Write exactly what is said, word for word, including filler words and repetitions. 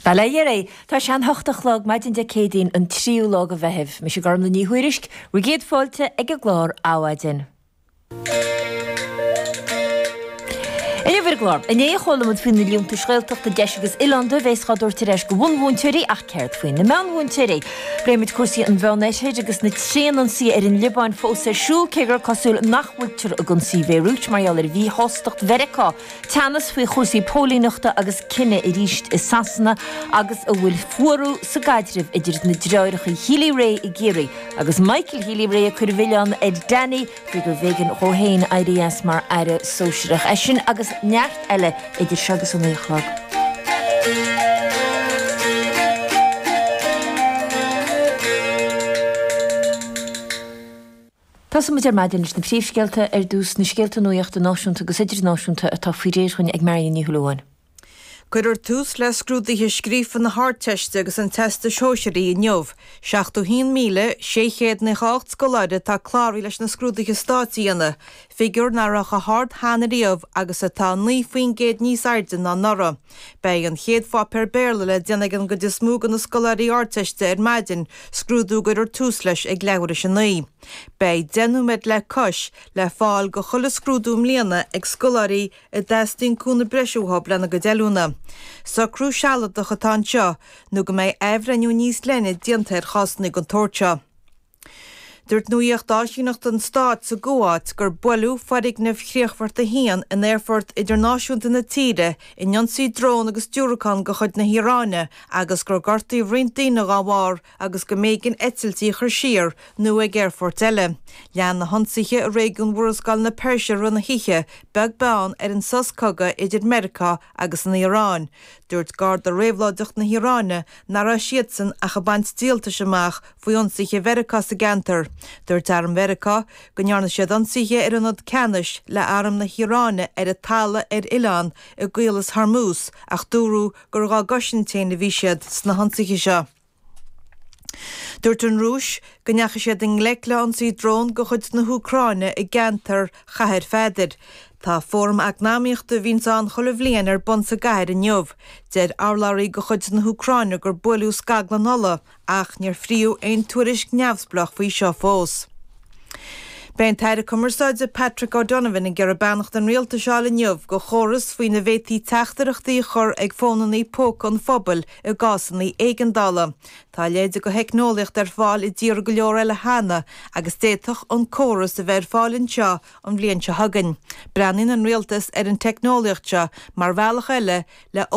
Bail ó Dhia oraibh. Tá sé an hocht a chlog maidin Dé Céadaoin an tríú lá de Mheitheamh. Mise Gormlaith Ní Thuairisg, bhur gcéad fáilte ag an gclár Adhmhaidin. Inniu ar an gclár, inné chuala muid faoi na liúntais Ghaeltachta deis agus oileánda a bheas á dtabhairt ar ais do bhunmhúinteoirí ach céard faoi na meánmhúinteoirí? Pléimid cúrsaí an Mheánoirthir agus na tréanionsaithe ar an Liobáin fós ar siúl cé gur cosúil nach bhfuiltear ag ionsaí Bhéiriút mar gheall ar mhíshástacht Mheiriceá. Teannas faoi chúrsaí póilíneachta agus cine arís i Sasana agus an bhfuil fuarú sa gcaidreamh idir na deartháireacha Healy-Rae i gCiarraí agus Michael Healy-Rae ag cur an mhilleáin ar Danny faoi gurbh éigean dhó féin éirí as mar aire sóisearach. É sin agus neart eile idir seo agus a naoi a chlog. Tosóidh muid ar maidin leis na príomhscéalta ar dtús, na scéalta nuachta náisiúnta agus idirnáisiúnta atá faoi réir dhúinn ag Marion Ní Shúilleabháin. Cuirfear tús le scrúduithe scríofa na hArdteiste agus an Teastais Shóisearaigh inniu. seachtó haon míle sé chéad nócha a hocht scoláire atá cláraithe leis na scrúduithe stáit a dhéanamh, figiúr nach raibh chomh hard cheana riamh agus atá naoi faoin gcéad níos airde ná anuraidh. Beidh an chéad pháipéar Béarla le déanamh ag an gcuid is mó de na scoláirí Ardteiste ar maidin, scrúdú a gcuirfear tús leis ag leathuair théis a naoi. Beidh deich nóiméad le cois le fáil do chuile scrúdú i mbliana ag scoláirí a dteastaíonn cúnamh breise uathu lena gcuid oiliúna. Socrú sealadach atá anseo nó go mbeidh athbhreithniú níos leithne déanta ar chásanna den tsórt seo. Dúirt nuacht áisíneachta an stáit sa gCuáit gur buaileadh foirgneamh Chríochfort a haon in aerfort idirnáisiúnta na tíre in ionsaí drón agus diúracán de chuid na hIaráine agus gur gortaíodh roinnt daoine dá bharr agus go mb'éigean eitiltí a chur siar nó ag aerfoirt eile. Lean na hionsaithe i réigiún Mhurascaill na Peirse i rith na hoíche, beag beann ar an sos cogaidh idir Meiriceá agus an Iaráin. Dúirt Garda Réabhlóideach na hIaráine nach raibh siadsan ach ag baint díoltais amach faoi ionsaithe Mheiriceá sa gceantar. Dúirt arm Mheiriceá go ndearna siad ionsaithe ar ionad ceannais le arm na hIaráine ar an talamh ar oileán i gCaolas Hormuz ach dúradh gur dhá gcosaint féin a bhí siad sna hionsaithe seo. Dúirt an Rúis go ndeachaigh siad i ngleic le hionsaí drón de chuid na hÚcráine i gceantar Chathair Pheadair. Tá fóram eacnamaíochta a bhíonns ann chuile bhliain ar bun sa gcathair inniu. Deir urlabhraí de chuid na hÚcráine gur buaileadh scaglann ola ach níor frítheadh aon tuairisc neamhspleách faoi seo fós. Beidh an tAire Cumarsáide Patrick O'Donovan ag iarraidh beannacht an Rialtais a fháil inniu do chóras faoina bhféadfaí teachtaireachtaí a chur ag fónanna póca an phobail i gcásanna éigeandála. Tá a leithéid de theicneolaíocht ar fáil i dtíortha go leor eile cheana agus d'fhéadfadh an córas a bheith ar fáil anseo an bhliain seo chugainn. Breathnaíonn an Rialtas ar an teicneolaíocht seo mar bhealach eile le